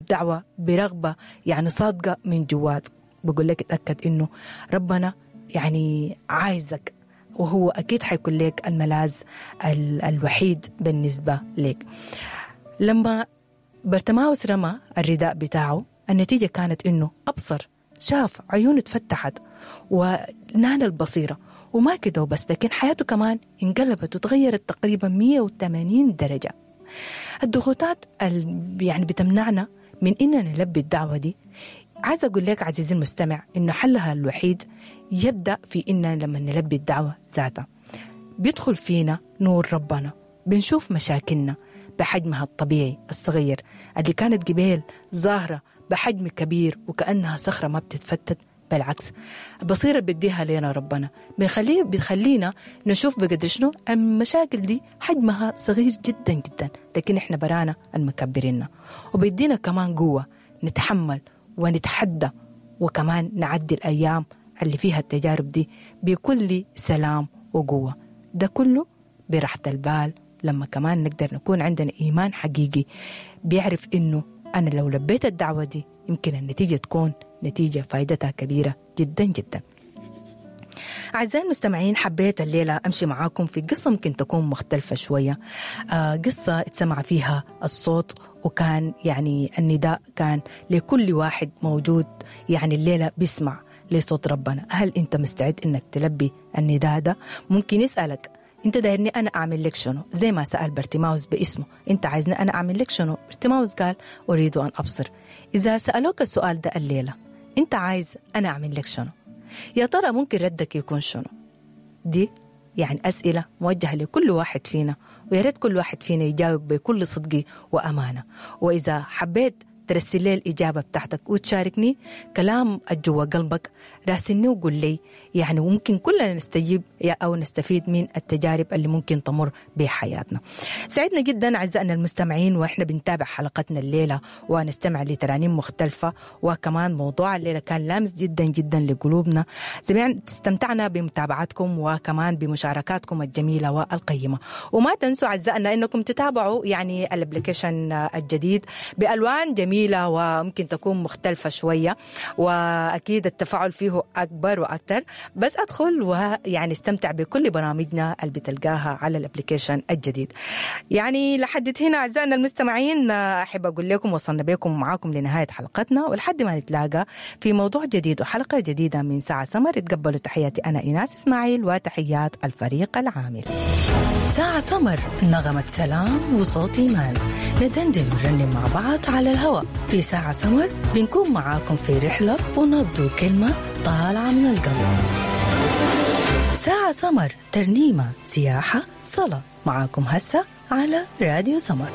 الدعوة برغبة يعني صادقة من جواك، بقول لك اتأكد إنه ربنا يعني عايزك، وهو أكيد حيكون لك الملاذ الوحيد بالنسبة لك. لما برتماوس رمى الرداء بتاعه، النتيجة كانت إنه أبصر، شاف، عيونه اتفتحت ونال البصيرة. وما كده وبس، لكن حياته كمان انقلبت وتغيرت تقريبا 180 درجة. الضغوطات يعني بتمنعنا من إننا نلبي الدعوة دي. عايز أقول لك عزيزي المستمع إنه حلها الوحيد يبدأ في إننا لما نلبي الدعوة ذاتها بيدخل فينا نور ربنا، بنشوف مشاكلنا بحجمها الطبيعي الصغير اللي كانت قبيل ظاهرة بحجم كبير وكأنها صخرة ما بتتفتت. بالعكس، البصيرة بديها لنا ربنا بيخلينا نشوف بقدر شنو المشاكل دي حجمها صغير جدا جدا، لكن احنا برانا المكبريننا. وبيدينا كمان قوة نتحمل ونتحدى، وكمان نعدي الأيام اللي فيها التجارب دي بكل سلام وقوة. ده كله براحة البال لما كمان نقدر نكون عندنا إيمان حقيقي بيعرف إنه أنا لو لبيت الدعوة دي يمكن النتيجة تكون نتيجة فايدتها كبيرة جدا جدا. أعزائي المستمعين، حبيت الليلة أمشي معاكم في قصة ممكن تكون مختلفة شوية، قصة اتسمع فيها الصوت، وكان يعني النداء كان لكل واحد موجود يعني الليلة بيسمع لصوت ربنا. هل أنت مستعد أنك تلبي النداء ده؟ ممكن يسألك أنت دايرني أنا أعمل لك شنو؟ زي ما سأل برتماوس باسمه، أنت عايزني أنا أعمل لك شنو؟ برتماوس قال أريد أن أبصر. إذا سألوك السؤال ده الليلة، أنت عايز أنا أعمل لك شنو؟ يا ترى ممكن ردك يكون شنو؟ دي يعني أسئلة موجهة لكل واحد فينا، ويا ريت كل واحد فينا يجاوب بكل صدق وأمانة. وإذا حبيت ترسل لي الإجابة بتاعتك وتشاركني كلام جوا قلبك، راسلني وقول لي، يعني ممكن كلنا نستجيب أو نستفيد من التجارب اللي ممكن تمر بحياتنا. سعدنا جدا أعزائنا المستمعين وإحنا بنتابع حلقتنا الليلة ونستمع لترانيم مختلفة، وكمان موضوع الليلة كان لامس جدا جدا لقلوبنا. استمتعنا بمتابعتكم وكمان بمشاركاتكم الجميلة والقيمة. وما تنسوا أعزائنا أنكم تتابعوا يعني ال application الجديد بألوان جميلة وممكن تكون مختلفة شوية، وأكيد التفاعل فيه أكبر وأكثر. بس أدخل ويعني استمتع بكل برامجنا اللي بتلقاها على ال application الجديد. يعني لحد هنا أعزائنا المستمعين أحب أقول لكم وصلنا بكم معاكم لنهاية حلقتنا، ولحد ما نتلاقى في موضوع جديد وحلقة جديدة من ساعة سمر، تقبلوا تحياتي أنا إيناس إسماعيل وتحيات الفريق العامل. ساعة سمر، نغمة سلام وصوت إيمان، ندندن ونرنم مع بعض على الهواء في ساعة سمر. بنكون معاكم في رحلة ونبض كلمة طالعة من القلب. ساعة سمر، ترنيمة، سياحة، صلاة، معاكم هسه على راديو سمر.